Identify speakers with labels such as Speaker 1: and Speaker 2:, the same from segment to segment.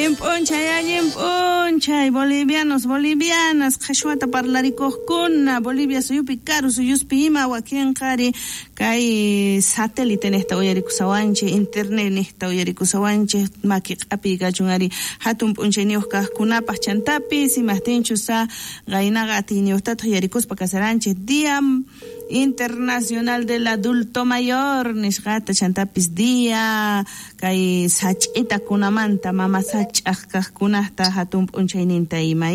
Speaker 1: Allin p'unchay, bolivianos, bolivianas, qhashwata parlarikuqkuna, Bolivia suyupi, karu suyuspi ima wakinqari kay satélite niqta uyarikusawanchik, internet niqta uyarikusawanchik, maki q'apiy kachun ari hatun p'unchayniyuq kaqkunapaq chantapis imaqtinchus qaynaqa atiyniyuqtataq uyarikuspa kasaranchik Día Internacional del Adulto Mayor nisqata chantapis día kay sach'itakunamanta mama sach'aq kaqkunata hatun p'unchayninta ima.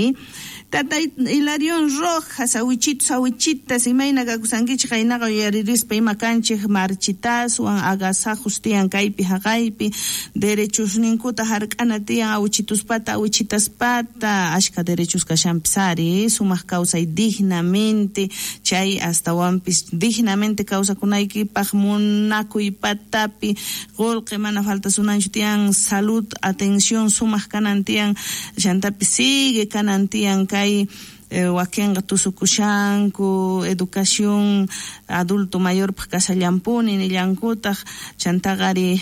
Speaker 1: Tata Hilarión Rojas, awichitos, awichitas, imayna kakusankichik qaynaqa uyaririspa ima kanchik marchitaswan agasajos tiyan kaypi haqaypi derechosninkuta hark'ana tiyan awichituspata awichitaspata ashka derechos kashanpis ari sumaq kawsay dignamente chay astawanpis dignamente kawsakunaykipaq munakuy patapi qullqi mana faltasunanchu tiyan salud atención sumaq kanan tiyan chantapis sigue kanan tiyan kay wakinqa tusukushanku educación adulto mayorpaq kashallampuni nillankutaq chantaqa ari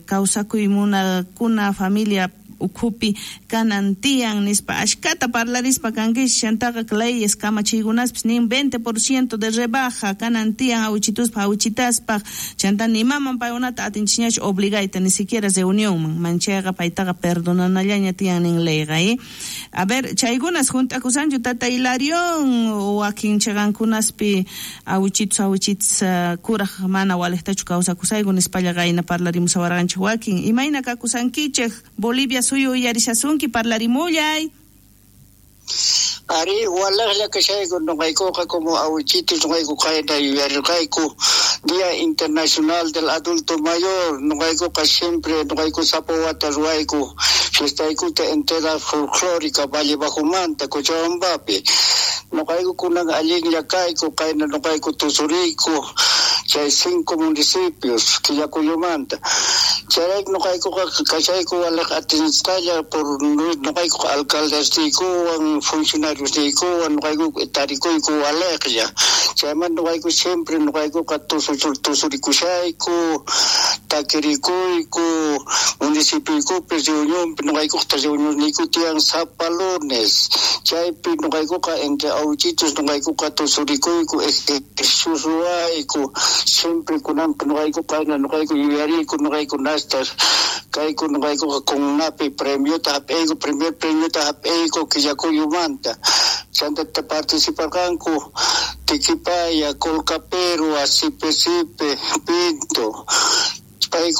Speaker 1: kawsakuy munakuna familia ukhupi kanan tiyan nispa ashkata parlarispa kankichik chantaqa leyes kamachiykunaspis nin 20% de rebaja kanan tiyan awichituspaq awichitaspaq chanta nimaman paykunata atinchikñachu obligayta ni siquiera reunionman manchayqa paytaqa perdonanallaña tiyan nin leyqa. A ver, chaykunas junt'akusanchu tata Hilarión wakin chiqankunaspi awichitus awichitas kuraj mana waliqtachu kawsakusayku nispalla qayna parlarimusawarqanchik wakin imayna kakusankichik Bolivia suyu uyarishasunki parlarimullay.
Speaker 2: Ari walaqlla kashayku noqaykuqa como awichitos noqayku qayna yuyarirqayku Día Internacional del Adulto Mayor noqaykuqa siempre noqayku sapa wata ruwayku fiestaykuta entera folclórica Valle Bajomanta Cochabambapi noqayku kunan allinlla kayku qayna noqayku tusuriyku chay 5 municipios Quillacoyomanta chayrayku noqaykuqa kashayku walaq atinisqalla por noqaykuqa alcaldesniykuwan funcionariosniykuwan noqayku tarikuyku walaqlla chaymanta noqayku siempre noqaykuqa tusurikushayku takirikuyku municipioykupi reunionpi noqaykuqta reunionniyku tiyan sapa lunes chaypi noqaykuqa entre awichitos noqaykuqa tusurikuyku ejercicios ruwayku siempre kunanpi noqayku qayna noqayku yuyariyku noqayku nastas kayku noqaykuqa CONAPI premiota hap'iyku primer premiota hap'iyku Quillacuyumanta chantata participarqanku Tiquipaya, Colcapirhua, Sipe Sipe, Pinto payku.